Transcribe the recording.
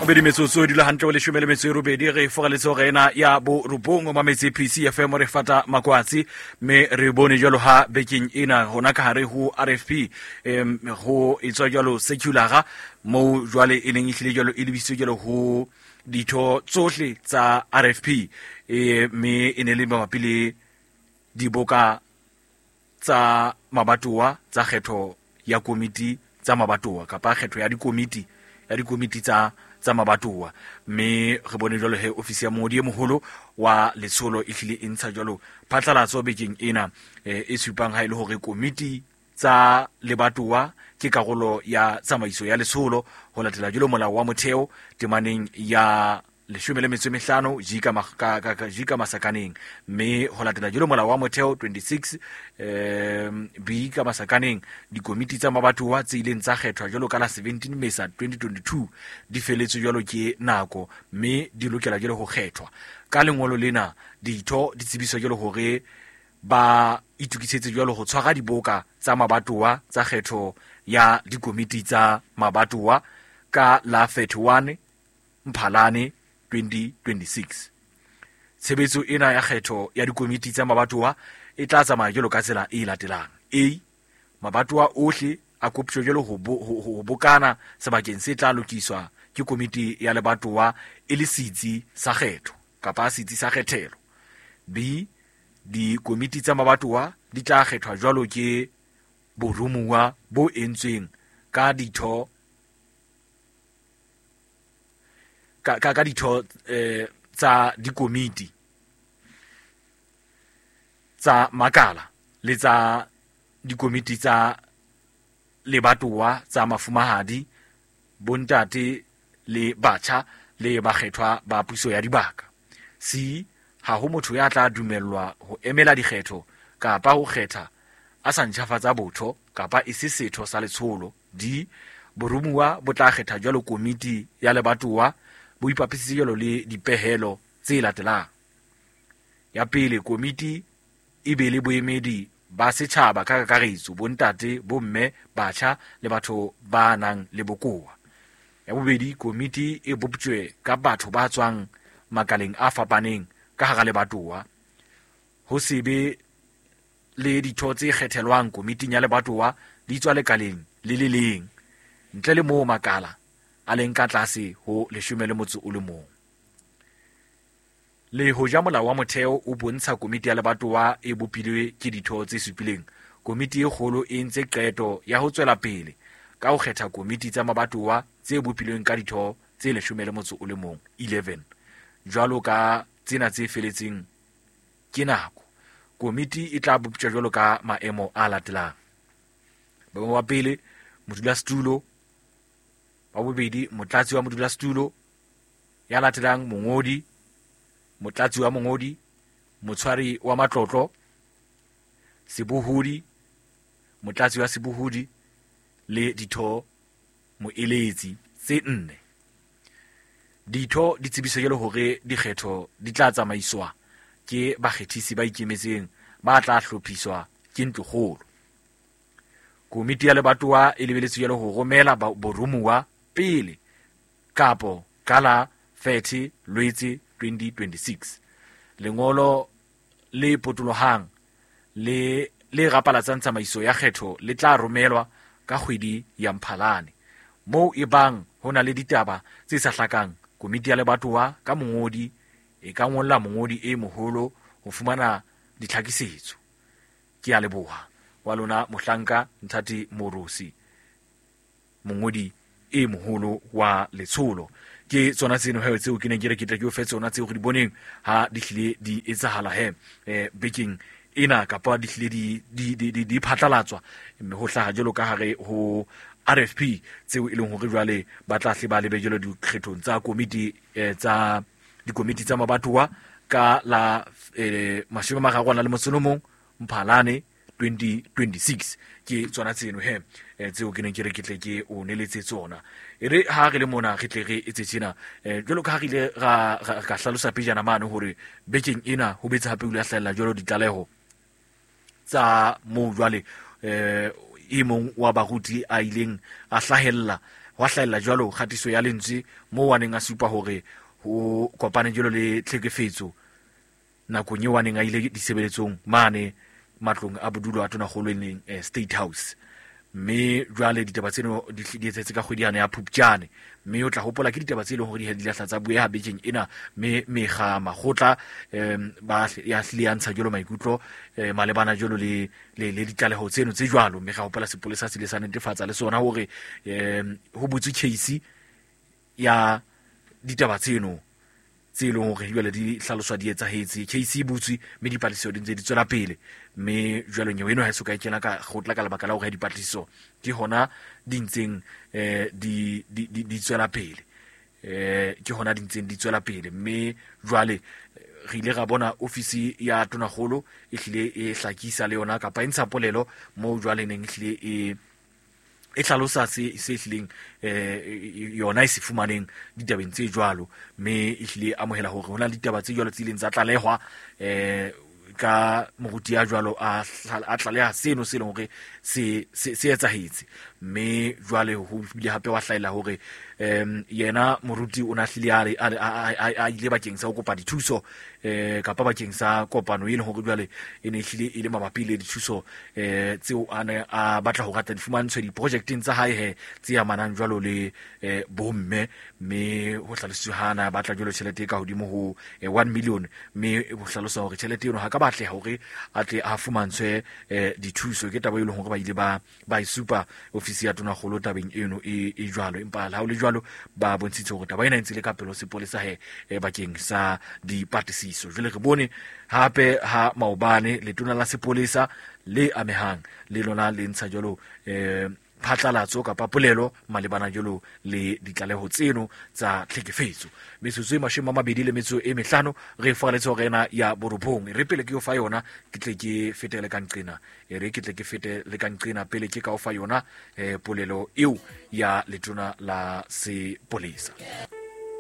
Bobedi metsotso e dula hantle o leshome le metso e robedi re foraletse hore ena ya borobong o mametse PCFM re fata makwatsi mme re bone jwalo ha bekeng ena hona ka hare ho RFP ho etswa jwalo seculara moo jwale e neng e hlile jwalo e lebisitswe jwalo ho ditho tsohle tsa RFP mme e ne le mabapi le diboka tsa mabatowa tsa kgetho ya komiti tsa mabatowa kapa kgetho ya dikomiti ya dikomiti tsa tsa mabatowa. Mme re bone jwalo he ofisi ya mongodi e moholo wa letsholo e hlile e ntsha jwalo phatlalatso bekeng ena e supang ha e le hore komiti tsa lebatowa ke karolo ya tsamaiso ya letsholo ho latela jwalo molao wa motheo temaneng ya 15 G ka G ka masakaneng, mme ho latela jwalo molao wa motheo 26 B ka masakaneng dikomiti tsa mabatowa tse ileng tsa kgethwa jwalo ka la 17 Mesa 2022 di feletswe jwalo ke nako mme di lokela jwalo ho kgethwa. Ka lengolo lena ditho di tsebiswa jwalo hore ba itokisetse jwalo ho tshwara diboka tsa mabatowa tsa kgetho ya dikomiti tsa mabatowa ka la 31 Mphalane 2026. Tshebetso ena ya kgetho ya dikomiti tsa mabatowa e tla tsamaya jwalo ka tsela e latelang. A, mabatowa ohle a koptjwe jwalo ho bokana sebakeng se tla lokiswa ke komiti ya lebatowa e le setsi sa kgetho kapa setsi sa kgethelo. B, dikomiti tsa mabatowa di tla kgethwa jwalo ke boromuwa bo entsweng ka ditho ka ditho tsa dikomiti tsa makala le tsa dikomiti tsa lebatowa tsa mafumahadi, bontate le batjha le bakgethwa ba puso ya dibaka. C, ha ho motho ya tla dumellwa ho emela dikgetho kapa ho kgetha a sa ntjhafatsa botho kapa e se setho sa letsholo. D, boromuwa bo tla kgetha jwalo komiti ya lebatowa bo ipapisitse jwalo le dipehelo tse latelang. Ya pele, komiti e be le boemedi ba setjhaba ka kakaretso, bontate, bomme, batjha le batho ba nang le bokowa. Ya bobedi, komiti e boptjwe ka batho ba tswang makaleng a fapaneng ka hara lebatowa. Ho se be le ditho tse kgethelwang komiting ya lebatowa di tswa lekaleng le le leng, ntle le moo makala a leng ka tlase ho 11. Le hoja molao wa motheo o bontsha komiti ya lebatowa e bopilwe ke ditho tse supileng, komiti e kgolo e entse qeto ya ho tswela pele ka ho kgetha komiti tsa mabatowa tse bopilweng ka ditho tse 11, 11, jwalo ka tsena tse feletseng ke nako. Komiti e tla boptjwa jwalo ka maemo a latelang. Boemo ba pele, modulasetulo; ba bobedi, motlatsi wa modulasetulo; ya latelang, mongodi, motlatsi wa mongodi, motshwari wa matlotlo, sebohodi, motlatsi wa sebohodi le ditho moeletsi tse 4. Ditho di tsebiswa jwalo hore dikgetho di tla tsamaiswa ke bakgethisi ba ikemetseng ba tla hlophiswa ke ntlokgolo. Komiti ya lebatowa e lebeletswe jwalo ho romela boromuwa pele kapo ka la 30 Lwetse 2026. Lengolo le potolohang le le rapalatsang tsamaiso ya kgetho le tla romelwa ka kgwedi ya Mphalane. Moo e bang ho na le ditaba tse sa hlakang, komiti ya lebatowa ka mongodi e ka ngolla mongodi e moholo ho fumana ditlhakisetso. Ke a leboha wa lona mohlanka Nthati Morosi, mongodi e moholo wa letsholo. Ke tsona tseno he tseo ke neng ke re ke tle ke o fe tsona tseo re di boneng ha di hlile di etsahala he bekeng ena kapa di hlile di phatlalatswa mme ho hlaha jwalo ka hare ho RFP tseo e leng hore jwale ba tla hle ba lebe jwalo dikgethong tsa komiti tsa dikomiti tsa mabatowa ka la 31 Mphalane 2026. Ke tsona tseno he tseo ke neng ke re ke tle ke o neletse tsona. E re ha re le mona re tle re etse tjena jwalo ka ha re ile ra ka hlalosa pejana mane hore bekeng ena ho betse hape o ile a hlahella jwalo ditlaleho tsa moo jwale e mong wa baruti a ileng a hlahella Hwa hlahella jwalo kgatiso ya lentswe moo a neng a supa hore ho kopane jwalo le tlhekefetso nakong eo a neng a ile disebeletsong mane matlong a bodulo a tonakgolo e leng State House. Mme jwale ditaba tseno di etsahetse ka kgwedi yane ya Phupjane, mme o tla hopola ke ditaba tse leng hore di lahla tsa bueha bekeng ena, mme mekga makgotla ba ya hlile ya ntsha jwalo maikutlo malebana jwalo le le ditlaleho tseno tse jwalo. Mme ga hopola sepolesa se ile sa netefatsa le sona hore ho butswe case ya ditaba tseno tse e leng hore jwale di hlaloswa di etsahetse. Case e butswe mme dipatlisiso di ntse di tswela pele, mme jwale nyewe eno ha e soka e kena ka kgotla ka lebaka la hore dipatlisiso ke hona di ntseng di tswela pele, ke hona di ntseng di tswela pele. Mme jwale re ile ra bona ofisi ya tonakgolo e hlile e hlakisa le yona kapa e ntsha polelo moo jwale neng e hlile e hlalosa se hlileng yona e se fumaneng ditabeng tse jwalo, mme e hlile amohela hore ho na le ditaba tse jwalo tse ileng tsa tlalehwa ka moruti ya jwalo a tlaleha seno se leng hore se etsahetse. Mme jwale ho bile hape wa hlahella hore yena moruti o na hlile a ile bakeng sa ho kopa dithuso kapa bakeng sa kopano e leng hore jwale e ne hlile e le mabapi le dithuso tseo a ne a batla hore a tla di fumantshwe diprojecteng tsa hae he tse amanang jwalo le bomme. Mme ho hlalositswe ha na batla jwalo tjhelete e ka hodimo ho 1 million, mme ho hlalosa hore tjhelete eno ha ka batleha hore a tle a fumantshwe dithuso. Ke taba e leng hore ba ile ba e supa ofisi ya tonakgolo tabeng eno e jwalo, empa ha ho le jwalo ba bontshitse hore taba ena e ntse le ka pele ho sepolesa he bakeng sa dipatlisiso. Jwale re bone hape ha maobane letona la sepolesa le amehang le lona le ntsha jwalo phatlalatso kapa polelo malebana jwalo le ditlaleho tseno tsa tlhekefetso. Metsotso e 25 re faraletse hore ena ya borobong, re pele ke o fa yona ke tle ke fetele ka nqena, e re ke tle ke fete le ka nqena pele ke ka o fa yona polelo eo ya letona la sepolesa.